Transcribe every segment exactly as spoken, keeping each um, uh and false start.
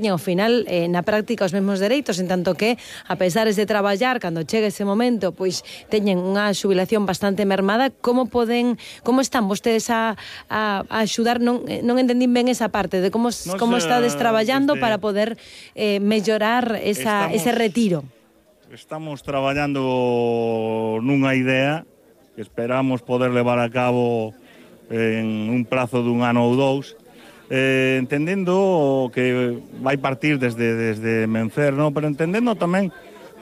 ao final, eh, na práctica, os mesmos dereitos, en tanto que, a pesares de traballar, cando chegue ese momento, pois teñen unha xubilación bastante mermada. Como poden, como están vostedes a, a, a axudar? Non, non entendín ben esa parte de como, Nos, como estades traballando desde, para poder eh, mellorar esa, estamos, ese retiro. Estamos traballando nunha idea que esperamos poder levar a cabo en un prazo dun ano ou dous, Eh, entendendo que vai partir desde, desde Mencer, ¿no? Pero entendendo tamén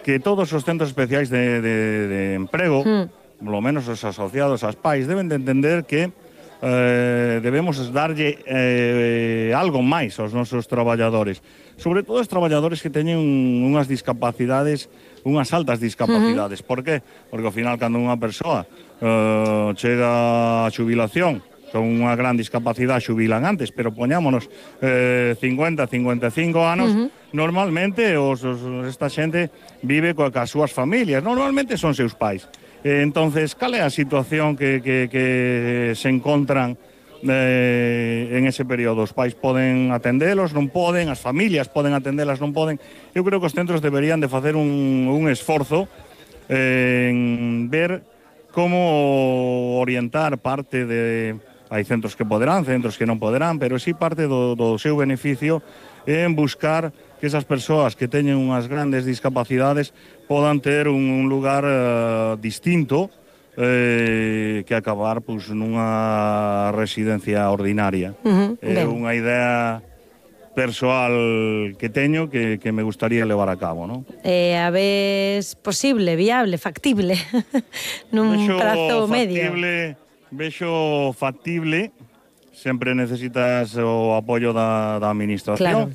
que todos os centros especiais de, de, de emprego, mm. polo menos os asociados ás pais, deben de entender que eh, debemos darlle eh, algo máis aos nosos traballadores, sobre todo os traballadores que teñen unhas discapacidades, unhas altas discapacidades. Uh-huh. Por qué? Porque ao final, cando unha persoa eh, chega a xubilación con unha gran discapacidade, xubilan antes, pero poñámonos eh, cincuenta, cincuenta e cinco anos, uh-huh. normalmente os, os, esta xente vive coa, coas súas familias, normalmente son seus pais. Eh, entonces, cal é a situación que, que, que se encontran eh, en ese período? Os pais poden atendelos, non poden, as familias poden atendelas, non poden. Eu creo que os centros deberían de facer un, un esforzo eh, en ver como orientar parte de... Hai centros que poderán, centros que non poderán, pero sí parte do, do seu beneficio en buscar que esas persoas que teñen unhas grandes discapacidades podan ter un, un lugar uh, distinto eh, que acabar pues, nunha residencia ordinaria. Uh-huh, é unha idea persoal que teño que, que me gustaría levar a cabo, ¿no? Eh, a vez posible, viable, factible, nun Vexo prazo medio. Vexo factible, sempre necesitas o apoio da, da administración. Claro.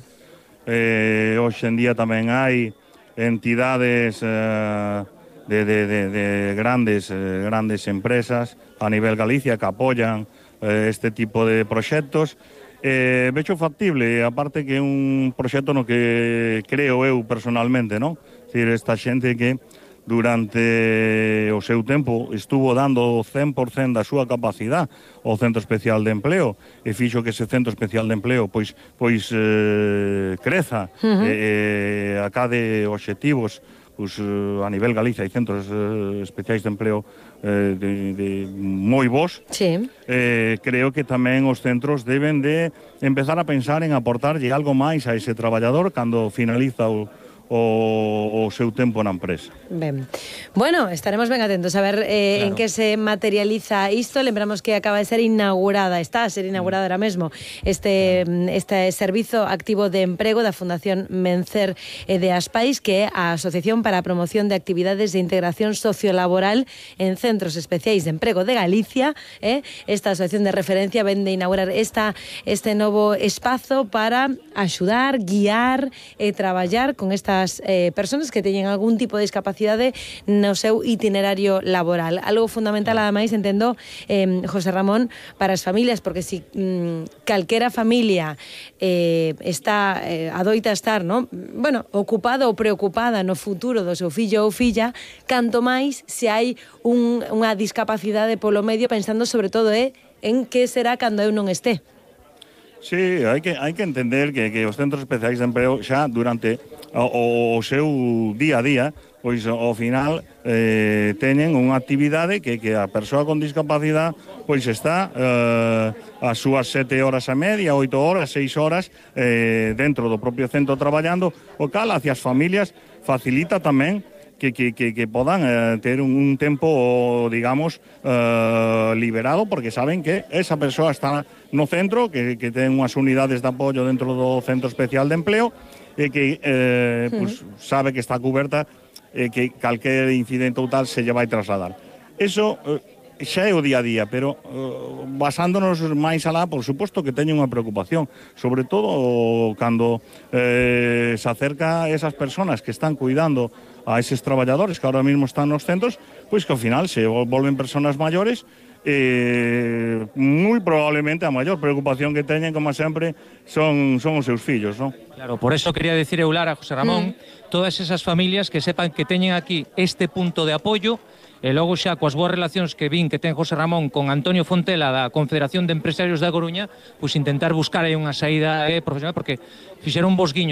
Eh, hoxe en día tamén hai entidades eh, de, de, de, de grandes, eh, grandes empresas a nivel Galicia que apoian eh, este tipo de proxectos. Eh, vexo factible, aparte que é un proxecto no que creo eu personalmente, non? Es decir, esta xente que durante o seu tempo estuvo dando o cen por cen da súa capacidade ao Centro Especial de Empleo e fixo que ese Centro Especial de Empleo pois, pois eh, creza, uh-huh. e, e acade obxectivos pois, a nivel Galicia hai centros eh, especiais de empleo eh, de, de moi bons. Sí. Eh, creo que tamén os centros deben de empezar a pensar en aportarlle algo máis a ese traballador cando finaliza o o, o seu tempo na empresa. Ben. Bueno, estaremos ben atentos a ver eh, claro. en que se materializa isto. Lembramos que acaba de ser inaugurada, está a ser inaugurada ahora mesmo, este, este servizo activo de emprego da Fundación Mencer e de Aspais, que é a Asociación para a Promoción de Actividades de Integración Sociolaboral en Centros Especiais de Emprego de Galicia. Eh? Esta asociación de referencia ven de inaugurar esta, este novo espazo para axudar, guiar e traballar con estas Eh, personas que teñen algún tipo de discapacidade no seu itinerario laboral. Algo fundamental, ademais, entendo, eh, José Ramón, para as familias, porque si mm, calquera familia eh, está, eh, adoita estar, ¿no? bueno, ocupada ou preocupada no futuro do seu fillo ou filla, canto máis se hai un, unha discapacidade polo medio, pensando sobre todo eh, en que será cando eu non esté. Sí, hai que, hai que entender que, que os centros especiais de emprego xa durante o, o seu día a día, pois ao final eh, teñen unha actividade que, que a persoa con discapacidade pois está eh, as súas sete horas a media, oito horas, seis horas eh, dentro do propio centro traballando, o cal hacia as familias facilita tamén que, que, que, que podan eh, ter un, un tempo, digamos, eh, liberado, porque saben que esa persoa está no centro, que, que ten unhas unidades de apoio dentro do Centro Especial de Empleo, e que eh, sí. pues, sabe que está cuberta e que calquer incidente ou tal se lle vai trasladar. Eso eh, xa é o día a día, pero eh, basándonos máis alá, por suposto que teño unha preocupación, sobre todo cando eh, se acerca a esas personas que están cuidando a eses traballadores que ahora mismo están nos centros, pois que ao final se volven personas maiores, eh, moi probablemente a maior preocupación que teñen, como sempre, son, son os seus fillos, non? Claro, por eso quería decir eu, Lara, José Ramón, mm. todas esas familias que sepan que teñen aquí este punto de apoio, e logo xa coas boas relacións que vin que ten José Ramón con Antonio Fontela da Confederación de Empresarios da Coruña, pois intentar buscar aí unha saída eh, profesional, porque fixeron bos guiños